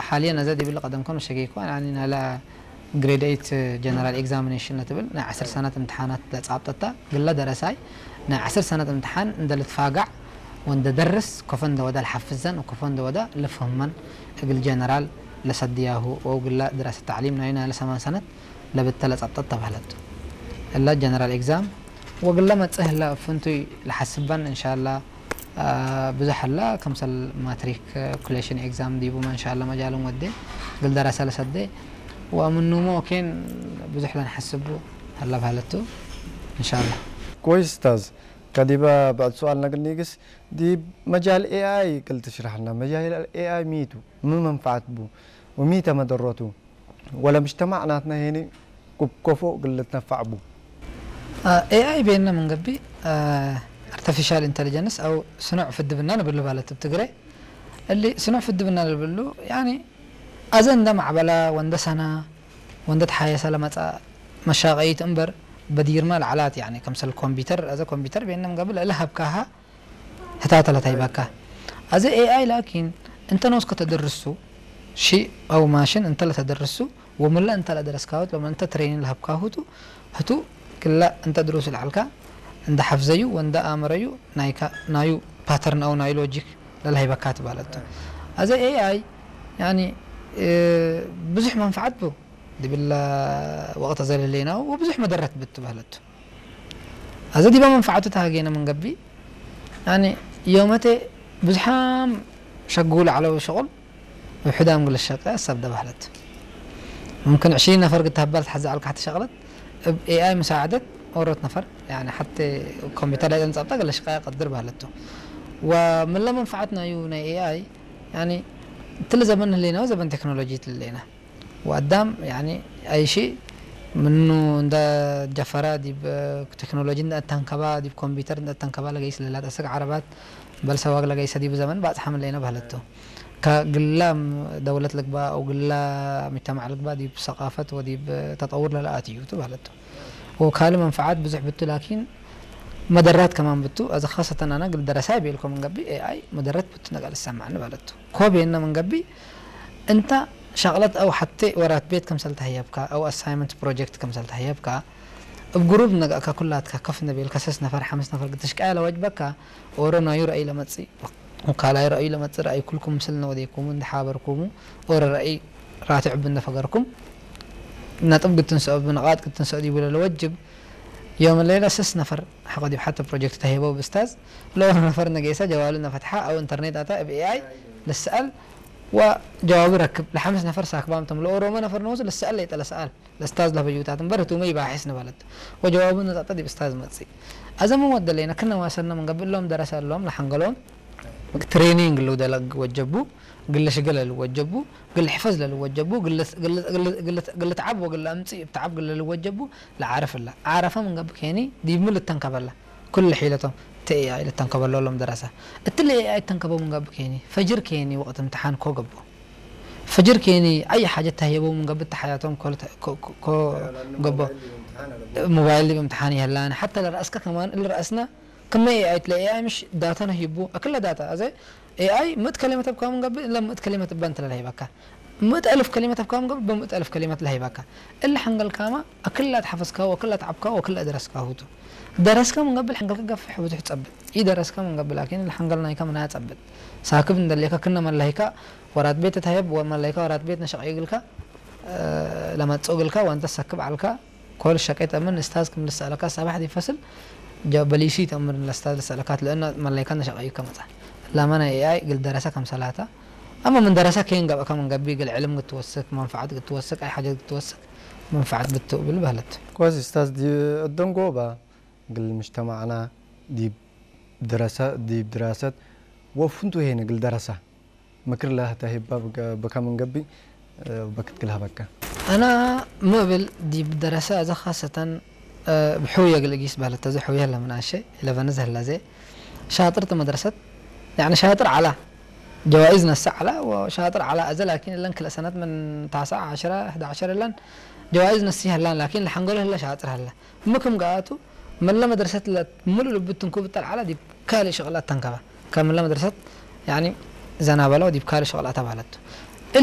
ሓልየ ነዘ ዲብል ቀደም ከም ሸገይኮ ኣኒ ናላ ግሬድ ኤይት ጀነራል ኤግዛሚኔሽን ለትብል ናይ ዓስር ሰነት እምትሓናት ለጻብጠታ ግላ ደረሳይ ናይ ዓስር ሰነት እምትሓን እንደ ልትፋጋዕ ወንደ ደርስ ኮፈ እንደ ወዳ ልሓፍዘን ወኮፈ እንደ ወዳ ልፍህመን እግል ጀነራል ለሰድያሁ ወው ግላ ድራሰ ተዕሊም ናይ ናለ ሰማን ሰነት ለብተ ለጻብጠት ተባህለቱ እላ ጀነራል ኤግዛም ወግላ መጽህ ላ ፍንቱይ ለሓስበን እንሻላ ብዙሕ ኣላ ከምሰል ማትሪክ ኩሌሽን ኤግዛም ዲቡመ እንሻላ መጃልን ወዴ ግል ደረሰ ለሰዴ ወምኑሞ ኬን ብዙሕ ለንሐስቡ ኣላ ባህለቱ እንሻላ። كويس استاذ. كديبا بعد سؤال نقل نيجس دي مجال اي اي قلت تشرح لنا مجال الاي اي ميتو مو منفعة بو وميتا مضرته ولا مجتمع ناتنا هيني كوب كوفو قلت نفع بو. ኤኣይ ቤና መንገቢ ኣርቲፊሻል ኢንተሊጀንስ ኣው ስኑዕ ፍድብና ንብሉ ማለት ኣብ ትግረ እሊ ስኑዕ ፍድብና ንብሉ ያኒ ኣዘ እንደ ማዕበላ ወንደ ሰና ወንደ ተሓየሰ ለመጻ መሻቀይት እምበር በዲርማ ለዓላት ያኒ ከምሰል ኮምፒውተር ኣዘ ኮምፒውተር ቤና መንገቢ ልዕሊ ሃብካሃ ህታተ ለታይበካ ኣዘ ኤኣይ ላኪን እንተ ነውስ ከተደርሱ ሺ ኣው ማሽን እንተ ለተደርሱ ወምላ እንተ ለደረስካሁት ሎም እንተ ትሬኒን ለሃብካሁቱ ህቱ ክላ እንተ ድሩስ ለዓልካ እንደ ሓፍዘዩ ወንደ ኣመረዩ ናይካ ናዩ ፓተርን ኣው ናዩ ሎጂክ ለልሃይበካ ትባለቱ ኣዘ ኤኣይ ያኒ ብዙሕ መንፈዓት ብ ድብላ ወቅት ዘለለና ወብዙሕ መደረት ብትባለቱ ኣዘ ዲባ መንፈዓቱ ተሃገነ መንገቢ ያኒ ዮመቴ ብዙሓም ሸጉ ለዓለው ሸቁል ብሕዳም ግለ ሸቀ ሰብ ደባህለት ممكن عشرين نفر قد تهبلت حزة على كحت شغلت ب إيه آي مساعدة ورت نفر يعني حتى كمبيوتر لا تنصبت قال شقايا قدر بهلته ومن لا منفعتنا يو ناي إيه آي يعني تل زمن لينا وزمن تكنولوجي لينا وقدام يعني أي شيء منو እንደ ጀፈራ ዲብ ቴክኖሎጂ እንደ ተንከባ ዲብ ኮምፒውተር እንደ ተንከባ ለገይስ ለላት ኣሰግ ዓረባት በል ሰዋግ ለገይሰ ዲብ ዘመን ባጽሓ ምን ለይነ ባህለቶ ከግላ ደውለት ልግባ او ግላ مجتمع ልግባ ዲብ ሰቃፈት ወዲብ ተጠውር ለለኣት እዩ ትባለቶ ወካል መንፈዓት ብዙሕ ብቱ ላኪን መደራት ከማን ብቱ ኣዚ ካሰተን ኣና ግል ደረሳይ ቤልኮ መንገቢ ኤኣይ መደረት ብቱ ነገር ልሰማዕኒ ባለቶ ኮብ የነ መንገቢ እንታ ሻቕለት ኣው ሓቴ ወራት ቤት ከምሰል ተህየብካ ኣው ኣሳይመንት ፕሮጀክት ከምሰል ተህየብካ እብ ግሩብ ነጋእካ ኩላትካ ከፍ ነቤልካ ሰስ ነፈር ሓምስ ነፈር ግትሽቃያ ለወጅበካ ኦሮ ናዩ ረእይ ለመጽእ ወካላይ ረእይ ለመጽእ ረእይ ኩልኩም ምስል ነወዴኩሙ እንድሓበርኩሙ ኦሮ ረእይ ራትዕ ብነፈገርኩም ነጥብ ግትንሰኦ ብንቓጥ ግትንሰኦ ዲቡ ለለወጅብ ዮም ሌላ ሰስ ነፈር ሓቆ ዲብ ሓተ ፕሮጀክት ተሄበው ብስታዝ ለኦሮ ነፈር ነጌሰ ጀዋሉ ነፈትሓ ኣው ኢንተርኔት ኣታ እብ ኤኣይ ልስኣል ወጀዋቡ ረክብ ለሓምስ ነፈር ሳክባም ተም ለኦሮሞ ነፈር ነውስ ልስኣል ለይጠለ ሰኣል ለስታዝ ለፈዩታት እምበር ህቱመ ይባሒስ ንበለት ወጀዋቡ ነጣጠ ዲብ ስታዝ መጽእ ኣዘ ምን ወደለይነ ክነ ዋሰነ ምን ገብእ ሎም ደረሰ ሎም ለሓንገሎም ትሬኒንግ ልውደለግ ወጀቡ ግለ ሽገለ ልወጀቡ ግለ ሕፈዝ ለልወጀቡ ግለ ተዓብ ወግለ ኣምጽእ ብተዓብ ግለ ልወጀቡ ለዓረፍ እላ ዓረፈ ምን ገብእ ኬኒ ዲብ ምን ልተንከበላ ኩሉ ሒለቶም እቲ ኤኣይ ልተንከበሎ ሎም ደረሰ እቲ ለኤኣይ ተንከበው ምን ገብእ ኬኒ ፈጅር ኬኒ ወቅት እምትሓን ኮ ገቦ ፈጅር ኬኒ ኣይ ሓጀት ተህየበው ምን ገብእ ተሓያቶም ኮ ገቦ ሞባይል ዲብ እምትሓን ይህላን ሓታ ለረእስከ ከማን እልረእስና ክመ ኤኣይ ትለ ኤኣይ ምሽ ዳታ ነሂቡ ኣክለ ዳታ ኣዘ ኤኣይ ምእት ከሊመት ኣብካ ምን ገብእ እለ ምእት ከሊመት እባ እንተ ለለሂበካ ምእት ኣልፍ ከሊመት ኣብካ ምን ገብእ በምእት ኣልፍ ከሊመት ለሂበካ እለ ሓንገልካማ ኣክላ ተሓፈዝካ ወክላ ተዓብካ ወክላ ደረስካ ሁቱ ደረስካ ምን ገብእ ሓንገልካ ገፍሕ ብዙሕ ጸብጥ ኢ ደረስካ ምን ገብእ ላኪን ለሓንገል ናይካ ምናያ ጸብጥ ሳክብ እንደሌካ ክነ መላሂካ ወራት ቤት ተታየብ ወመላይካ ወራት ቤት ነሸቀ ይግልካ ለመጽኦ ግልካ ወንተ ሰክብ ዓልካ ኮል ሸቀ ተምን እስታዝ ክም ልሰኣለካ ሰባሕ ዲፈስል ጀበሊሲ ተምር ለስታዝ ልሰኣለካ ትለእና መላይካ ነሸቀ ይከመጻ ላማ ናይ ኤኣይ ግል ደረሰ ከም ሰላታ ኣማ ምን ደረሰ ከይን ገብእካ ምን ገቢ ግል ዕልም ግትወስክ መንፈዓት ግትወስክ ኣይ ሓጀት ግትወስክ መንፈዓት ግትውብል በህለት كويس استاذ دي الدنقوبة قل مجتمعنا دي دراسة دي دراسة وفنتو هنا قل دراسة ምክር ለህተ ሂባ በከ መንገቢ በክት ክልሃበካ። ኣና ምብል ዲብ ደረሰ ኣዘ ኻሰተን ብሕውየ ግልጊስ በህለት ተዘ ሕውየ ለምናሸ ኢለበንዝ ህለዘ ሻጥርት መድረሰት ያኒ ሻጥር ዓላ ጀዋኢዝ ነሳ ዓላ ወሻጥር ዓላ ኣዘ ላኪን እለን ክልእ ሰነት ምን ታስዓ ዓሽራ ሕዳ ዓሸር እለን ጀዋኢዝ ነሲ ህላን ላኪን ለሐንገሎ ህለ ሻጥር ህለ ምክም ገኣቱ መለ መድረሰት ለሙሉ ልቡ ትንኩብ ጠልዓላ ዲብ ካልእ ሸቕላት ተንከባ። ካብ መለ መድረሰት ያኒ ዘናበለ ወዲብ ካልእ ሸቕላት ኣባለቱ።